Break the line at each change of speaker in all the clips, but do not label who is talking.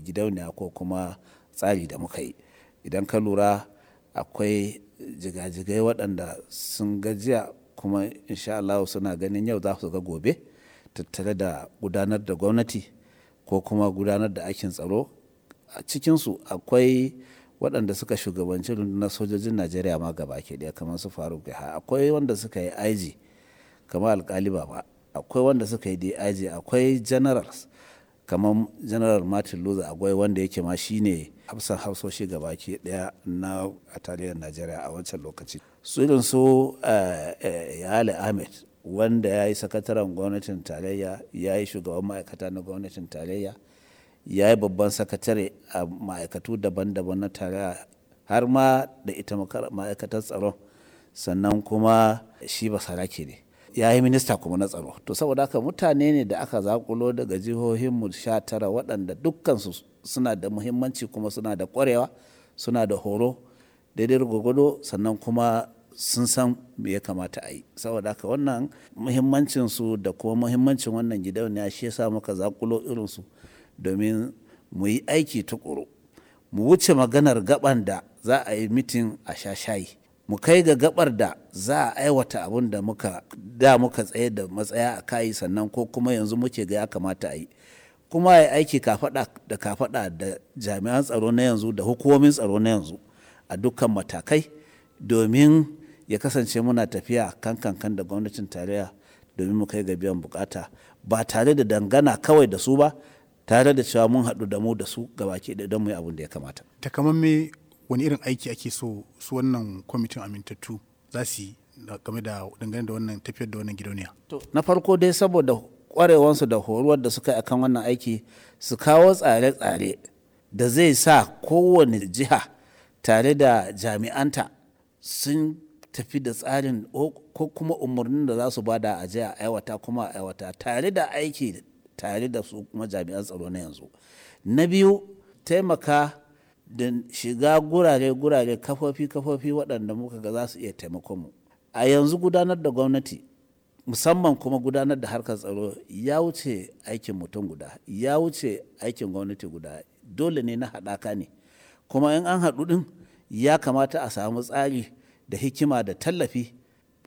gidauniya ko kuma tsari da muka yi. Idan ka lura, akwai jigajigai waɗanda sun gajiya kuma insha Allahu suna ganin yau za su ga gobe tattare da gudanar da gwamnati ko kuma gudanar da aikin tsaro. A cikinsu akwai waɗanda suka shugabanci rundunar sojojin Najeriya ma gaba ki ɗaya kamar su Faruk Yahaya. Akwai wanda suka yi IG kamar Alkali Baba. Akwai wanda suka yi DIG. Akwai generals kamar General Martin Luther Agwai wanda yake ma shi ne hafsan hafsoshi gaba ki ɗaya na tarayyar Najeriya a wancan lokaci. Su irin su Yale Ahmed wanda ya yi sakataren gwamnatin tarayya, ya yi shugaban ma'aikata na gwamnatin tarayya, ya yi babban sakatare a ma'aikatu daban daban na tarayya har ma da ita ma'aikatar tsaron. Sannan kuma shi basarake ne. Ya yi minista kuma na tsaro. To saboda haka mutane ne da aka zaƙulo daga jihohinmu 19 waɗanda dukkansu suna da muhimmanci kuma suna da ƙwarewa, suna da horo daidai gwargwado, sannan kuma sun san me ya kamata a yi. Saboda haka wannan muhimmancinsu da kuma muhimmancin wannan gidauniya shi ya sa muka zaƙulo irinsu domin mu yi aiki tuƙuru. Mu wuce maganar gaɓan da za a yi mitin a sha shayi. Mu kai ga gaɓar da za a aiwata abun da muka da muka tsaye da matsaya a kai sannan ko kuma yanzu muke ga ya kamata a yi. Kuma ya aiki kafaɗa da kafaɗa da jami'an tsaro na yanzu da hukumomin tsaro na yanzu a dukkan matakai domin ya kasance muna tafiya kan kankan da gwamnatin tarayya domin mu kai ga biyan bukata ba tare da dangana kawai da su ba, tare da cewa mun haɗu da mu da su gaba ki ɗaya don mu yi abun da ya kamata.
Takamamme wani irin aiki ake so su wannan kwamitin amintattu za su yi game da dangane da wannan tafiyar da wannan gidauniya?
To, na farko dai saboda ƙwarewansu da horuwar da suka yi akan wannan aiki, su kawo tsare-tsare da zai sa kowane jiha tare da jami'anta sun tafi da tsarin ko kuma umarnin da za su ba da a je a aiwata kuma a aiwata tare da aiki tare da su kuma jami'an tsaro na yanzu. Na biyu, taimaka da shiga gurare-gurare, kafofi-kafofi waɗanda muka ga za su iya taimakon mu. A yanzu gudanar da gwamnati musamman kuma gudanar da harkar tsaro ya wuce aikin mutum guda, ya wuce aikin gwamnati guda. Dole ne na haɗaka ne. Kuma in an haɗu ɗin ya kamata a samu tsari da hikima da tallafi.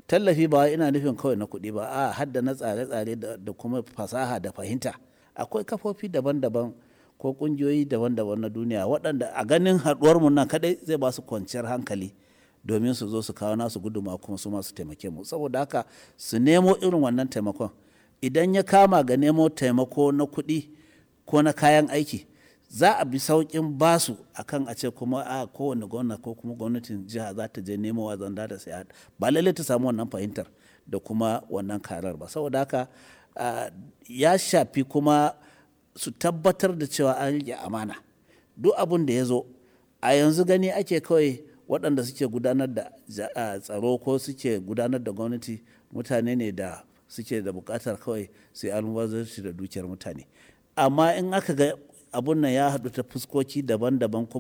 Tallafi ba ina nufin kawai na kuɗi ba, a'a, har da na tsare-tsare da kuma fasaha da fahimta. Akwai kafofi daban daban ko ƙungiyoyi daban daban na duniya waɗanda a ganin haɗuwar mu nan kaɗai zai ba su kwanciyar hankali domin su zo su kawo nasu gudummawa kuma su ma su taimake mu. Saboda haka su nemo irin wannan taimakon. Idan ya kama ga nemo taimako na kuɗi ko na kayan aiki, za a bi sauƙin basu akan a ce kuma a kowane gwamna ko kuma gwamnatin jiha za ta je nemo wa zanda da saya. Ba lallai ta samu wannan fahimtar da kuma wannan karar ba. Saboda haka ya shafi kuma su tabbatar da cewa an riƙe amana. Duk abun da ya zo a yanzu gani ake kawai waɗanda suke gudanar da tsaro ko suke gudanar da gwamnati mutane ne da suke da buƙatar kawai su yi almubazzaranci da dukiyar mutane. Amma in aka ga abun nan ya haɗu ta fuskoki daban daban kuma.